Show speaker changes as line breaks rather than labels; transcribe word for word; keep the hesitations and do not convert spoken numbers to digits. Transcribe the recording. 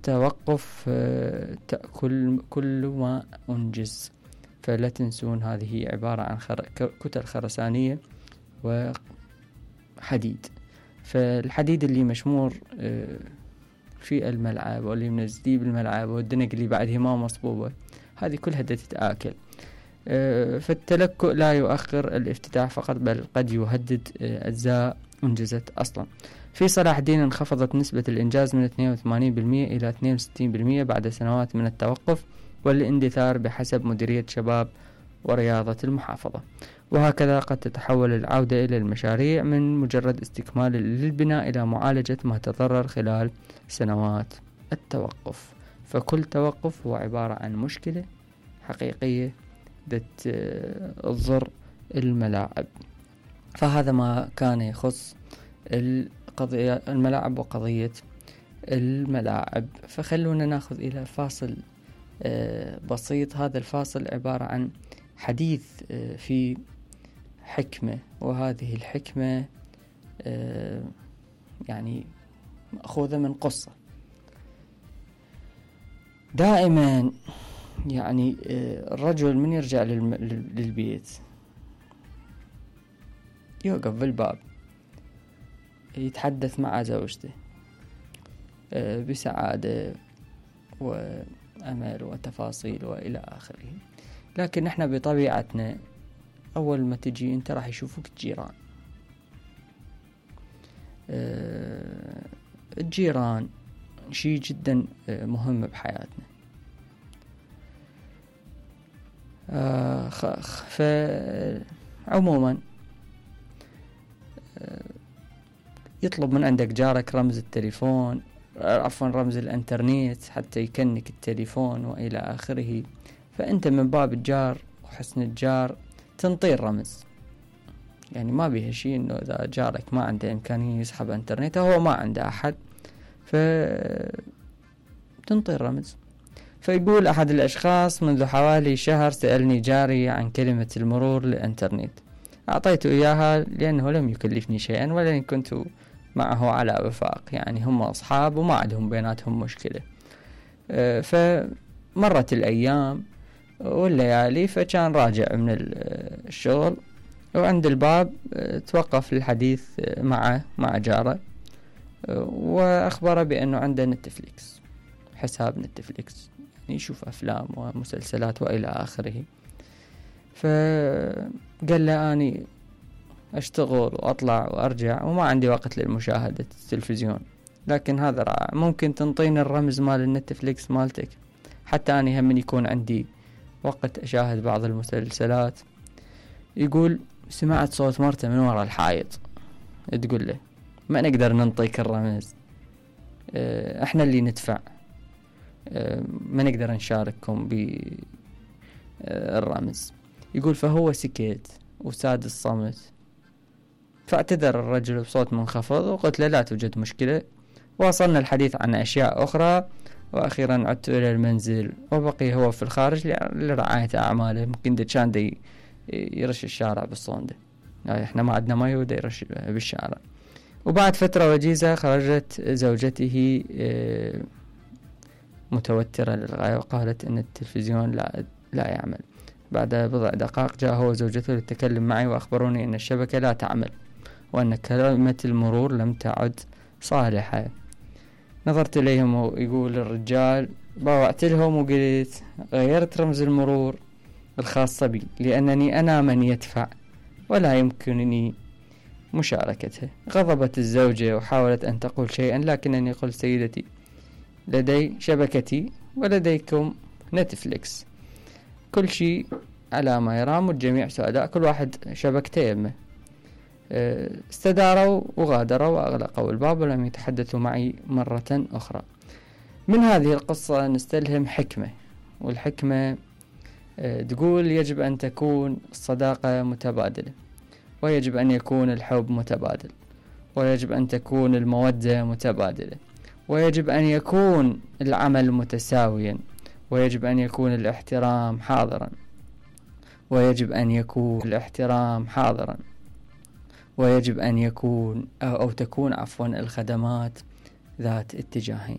توقف تأكل كل ما أنجز. فلا تنسون هذه عبارة عن خر... كتل خرسانية وحديد. فالحديد اللي مشمور في الملعب واللي منزديه بالملعب والدنق اللي بعدها ما مصبوبة، هذه كلها تتآكل. فالتلكؤ لا يؤخر الافتتاح فقط، بل قد يهدد أجزاء أنجزت أصلا. في صلاح الدين انخفضت نسبة الإنجاز من اثنين وثمانين بالمئة إلى اثنين وستين بالمئة بعد سنوات من التوقف والاندثار بحسب مديرية شباب ورياضة المحافظة. وهكذا قد تتحول العودة إلى المشاريع من مجرد استكمال للبناء إلى معالجة ما تضرر خلال سنوات التوقف. فكل توقف هو عبارة عن مشكلة حقيقية تضر الملاعب. فهذا ما كان يخص القضية الملاعب وقضية الملاعب. فخلونا ناخذ إلى فاصل بسيط. هذا الفاصل عبارة عن حديث في حكمة، وهذه الحكمة يعني مأخوذة من قصة. دائما يعني الرجل من يرجع للبيت يوقف بالباب يتحدث مع زوجته بسعادة وأمل وتفاصيل وإلى آخره. لكن احنا بطبيعتنا أول ما تجي انت راح يشوفوك الجيران. الجيران شيء جدا مهم بحياتنا. فعموما يطلب من عندك جارك رمز التليفون، عفوا رمز الانترنت حتى يكنك التليفون وإلى آخره. فأنت من باب الجار وحسن الجار تنطي الرمز. يعني ما بيها شيء إنه إذا جارك ما عنده إمكانية يسحب انترنت، هو ما عنده أحد، فتنطي الرمز. فيقول أحد الأشخاص: منذ حوالي شهر سألني جاري عن كلمة المرور للإنترنت، أعطيته إياها لأنه لم يكلفني شيئا ولن كنت معه على وفاق. يعني هم أصحاب وما عندهم بيناتهم مشكلة. فمرت الأيام والليالي، فكان راجع من الشغل وعند الباب توقف للحديث مع مع جاره، وأخبره بأنه عنده نتفليكس، حساب نتفليكس، يعني يشوف أفلام ومسلسلات وإلى آخره. فقال له: أني أشتغل وأطلع وأرجع وما عندي وقت للمشاهدة التلفزيون، لكن هذا رائع، ممكن تنطيني الرمز مال النتفليكس مالتك حتى أني هم يكون عندي وقت أشاهد بعض المسلسلات. يقول: سمعت صوت مرته من وراء الحائط تقول له: ما نقدر ننطيك الرمز، احنا اللي ندفع، ما نقدر نشارككم بالرمز. يقول: فهو سكت وساد الصمت، فاعتذر الرجل بصوت منخفض وقلت له: لا توجد مشكلة. واصلنا الحديث عن أشياء أخرى، وأخيرا عدت إلى المنزل وبقي هو في الخارج لرعاية أعماله. ممكن ده كان دي يرش الشارع بالصوندة، يعني احنا ما عندنا ماء وده يرش بالشارع. وبعد فترة وجيزة خرجت زوجته متوترة للغاية وقالت إن التلفزيون لا لا يعمل. بعد بضع دقائق جاء هو وزوجته للتكلم معي وأخبروني أن الشبكة لا تعمل وأن كلمة المرور لم تعد صالحة. نظرت إليهم ويقول الرجال: باوعت لهم وقلت غيرت رمز المرور الخاصة بي لأنني أنا من يدفع ولا يمكنني مشاركته. غضبت الزوجة وحاولت أن تقول شيئا، لكنني قلت: سيدتي، لدي شبكتي ولديكم نتفليكس، كل شيء على ما يرام والجميع سعداء، كل واحد شبكته يمه. استداروا وغادروا وأغلقوا الباب ولم يتحدثوا معي مرة أخرى. من هذه القصة نستلهم حكمة، والحكمة تقول يجب أن تكون الصداقة متبادلة، ويجب أن يكون الحب متبادل، ويجب أن تكون المودة متبادلة، ويجب أن يكون العمل متساويا، ويجب أن يكون الاحترام حاضرا، ويجب أن يكون الاحترام حاضرا ويجب أن يكون أو, أو تكون عفوا الخدمات ذات اتجاهين.